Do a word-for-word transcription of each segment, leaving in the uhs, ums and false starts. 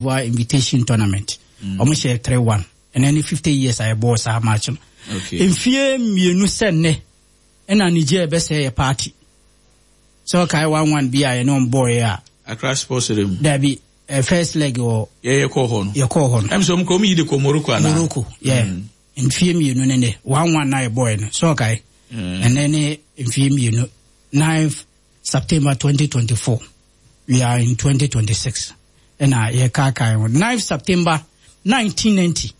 d'Ivoire invitation tournament, ɔmo hyɛ three one. Ɛnɛ ne fifty years a yɛbɔɔ saa match no. Okay. Mfie mmienu sɛ nnɛ ɛna Niger bɛsɛ yɛ party sɛ ɔkae one one bi a yɛne ɔmo bɔɔyɛ a. Accra Sports Stadium. Dabi, eh, first leg wɔ. Yɛyɛ kɔɔ hɔ no. Yɛkɔɔ hɔ no. Ɛm sɛ ɔmo kɔ ɔmo yi de kɔ Morocco anaa? Morocco, yeah. Mfie mmienu ne nɛ one one na yɛbɔɔyɛ no sɛ ɔkae. Ɛnɛ ne mfie mmienu, ninth September twenty twenty-four, we are in twenty twenty-six, ɛna yɛkaakae ho. ninth September nineteen ninety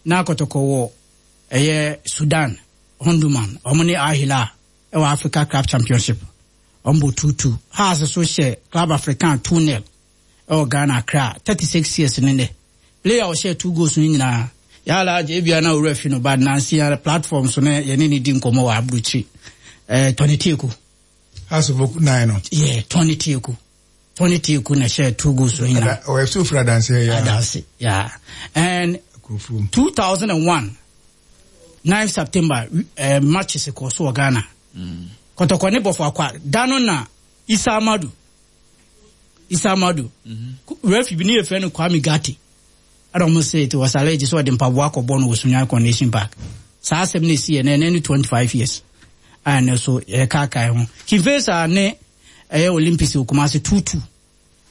na Kɔtɔkɔ wɔ ɛyɛ Sudan, Omdurman, ɔmo ne Al Hilal ɛwɔ Africa Club Championship, ɔmo bɔ two two. Hearts so hyɛ Club African two nil ɛwɔ Ghana, Accra. thirty-six years ne nɛ player a ɔhyɛ two goals no nyinaa yàrá agye ebia na owurɛ fi no, but nansi ara platform so ne yɛne ne di nkɔmɔ wɔ aburokyiri, ɛɛ Tony Tieku. Hearts of Oak nine no. Yeah, Tony Tieku, Tony Tieku na hyɛ two goals no nyinaa. Ɔyɛ so fira adanse yɛ. Adanse, yeah. And two thousand and one, nine September, uh, matches kɔ so wɔ Ghana. Mm. Kɔtɔkɔ ne Bofoakwa da no na Isa Amadu, Isa Amadu, mm -hmm. referee bi ne yɛ fɛ no Kwame Gati, ɛna ɔmo sɛ it was alleged sɛ ɔde mpaboa akɔbɔ no wɔ Sunyani Coronation Park. Saa asɛm no esi yɛ na ɛnɛ ne twenty five years a ɛnɛ so yɛkaakae ho. King Faisal ne ɛyɛ Olympics wɔ Kumasi, two two.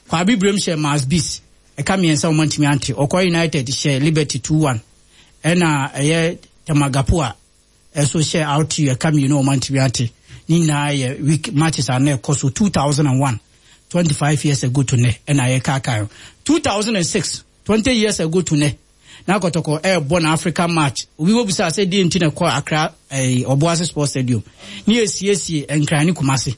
Kwabi Brem hyɛ Mars Bis, ɛka mmiɛnsa wɔn ntumi ante. Ɔkɔ United hyɛ Liberty two one, ɛna ɛyɛ Temagapo a ɛso hyɛ R T U, ɛka mmienu wɔn ntumi ante. Ne nyinaa yɛ week matches a na ɛkɔ so two thousand and one, twenty five years ago to nɛ, ɛna yɛkaakae ho. two thousand and six, twenty years ago to nɛ, na Kɔtɔkɔ ɛɛbɔ na Africa match. Obi wɔ bisa sɛ deɛ nti na ɛkɔ Accra ɛɛ Ɔboase Sports Stadium ne yɛsiesie Nkran ne Kumase.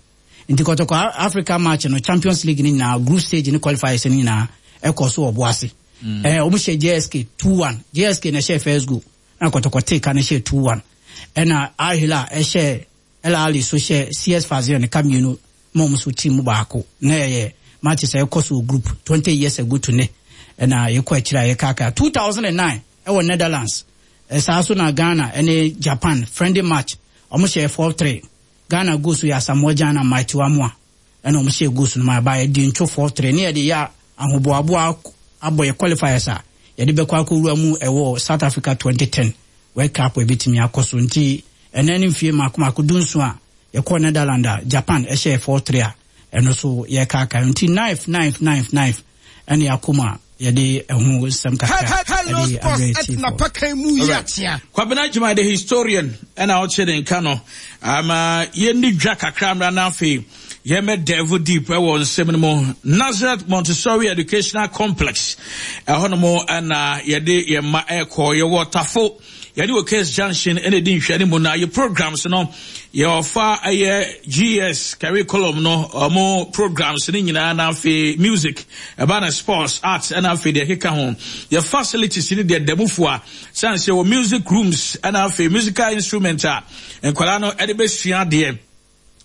Nti Kɔtɔkɔ Africa match no, Champions League ne nyinaa, group stage ne qualifiers ne nyinaa ɛkɔ so Ɔboase. ɛɛ wɔn hyɛ J S K two one. J S K na ɛhyɛ first goal na Kɔtɔkɔ take na ɛhyɛ two one, ɛna Al Hilal ɛhyɛ El Ahly so hyɛ C S Sfaxien ka mmienu ma wɔn so team baako na ɛyɛ matches a ɛkɔ so group, twenty years ago to ne, ɛna yɛkɔ akyire a yɛkaaka. two thousand and nine ɛwɔ Netherlands, ɛsaa so na Ghana ɛne Japan friendly match, wɔn hyɛ four three. Ghana goals yɛ Asamoah Gyan na Mighty Wamoa, ɛna wɔn hyɛ goals no ma ba yɛde ntwo four three ne yɛde yɛ ahoboaboa abɔ yɛ qualifiers a yɛde bɛkɔ akɔwura mu ɛwɔ South Africa twenty ten World Cup ebitumi akɔ so. Nti ɛnɛ ne mfie mako mako dunson a yɛkɔ Netherlands a Japan ɛhyɛ four three a ɛno so yɛkaaka. Nti ninth, ninth, ninth, ninth ɛne akɔ mu a yɛde ɛho nsɛm kakra ɛde abrɛ tiefo. Kwabena Juma the historian ɛna ɔkyerɛ ne nka no ama yɛnni dwa kakra mmra no, afei yɛmɛ delve deep ɛwɔ nsɛm no mu. Nazareth Montessori Educational Complex, ɛhɔ nom ɛna yɛde yɛn mma ɛkɔ. Yɛwɔ Tafo, yɛne wɔ Case Junction ɛna ɛdi nhwɛ mu. Na yɛ programs no, yɛwɔfa ɛyɛ G S curriculum no, ɔmo programs no nyinaa, na afei music, ɛba na sports, arts, ɛna afei deɛ ɛkeka ho. Yɛ facilities no deɛ dɛmufo a sane sɛ wɔ music rooms, ɛna afei musical instrument a nkwadaa no ɛde bɛsua adeɛ,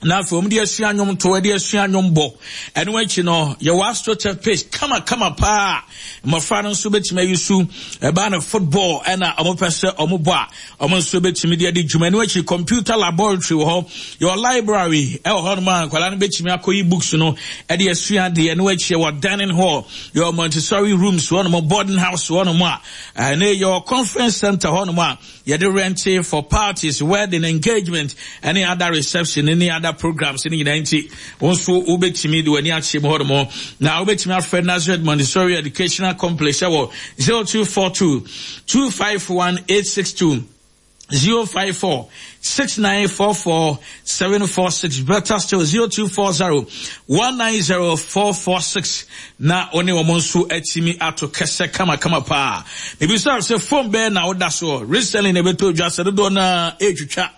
na afei wɔn de asua nnwom to, de asua nnwom bɔ. Ɛno akyi no, yɛwɔ astroturf pitch kamakama paa, mmɔfra no nso bɛtumi ayi so. Ɛbaa no football ɛna wɔn pɛ sɛ wɔn bɔ a, wɔn nso bɛtumi de adi dwuma. Ɛno akyi, computer laboratory wɔ hɔ, yɛwɔ library ɛwɔ hɔ nom a nkwadaa no bɛtumi akɔyi books no ɛde asua adeɛ. Ɛno akyi, yɛwɔ dining hall, yɛwɔ Montessori rooms wɔ nom, boarding house wɔ nom a ɛne yɛwɔ conference center hɔ nom a yɛde rent for parties, wedding, engagement ɛne other reception ne other programs ne nyinaa. Nti wɔn nso wobɛtumi de w'ani akyɛ mu hɔ nom, na wobɛtumi afrɛ Nazareth Montessori Educational Complex ɛwɔ zero two four two two five one eight six two, zero five four six nine four four seven four six, better still zero two four zero one nine zero four four six, na ɔne wɔn nso atumi ato kɛsɛ kamakama paa. Ebisa sɛ phone bɛɛ na ɔda so recently na ɛbɛtɔ dwa sɛ dodoɔ na ɛretwitwa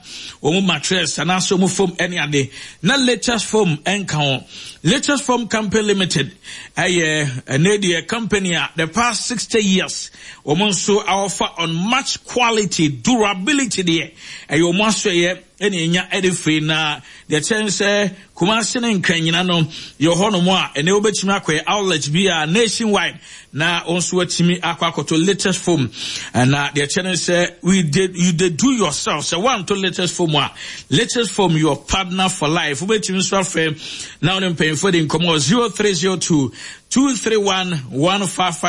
wɔn mattress anaasɛ wɔn foam ɛne ade, na Latest Foam ɛnka ho. Latest Foam Company Limited ɛyɛ ɛnɛ deɛ company a the past sixty years wɔn nso awɔfa on much quality, durability deɛ ɛyɛ wɔn aso ɛyɛ ɛna enya ɛde firi. Na deɛ kyɛn sɛ Kumase ne Nkran nyina no yɛ hɔnom a ɛnɛ wobɛtumi akɔyɛ outlet bi a nationwide na wɔn nso atumi akɔ akɔtɔ Latest Foam. Na deɛ kyɛn sɛ we did you dey do yourself sɛ wanto Latest Foam a, Latest Foam, your partner for life. Wobɛtumi nso afrɛ na wɔne mpanyinfoɔ de nkɔmɔ zero three zero two two three one one five five.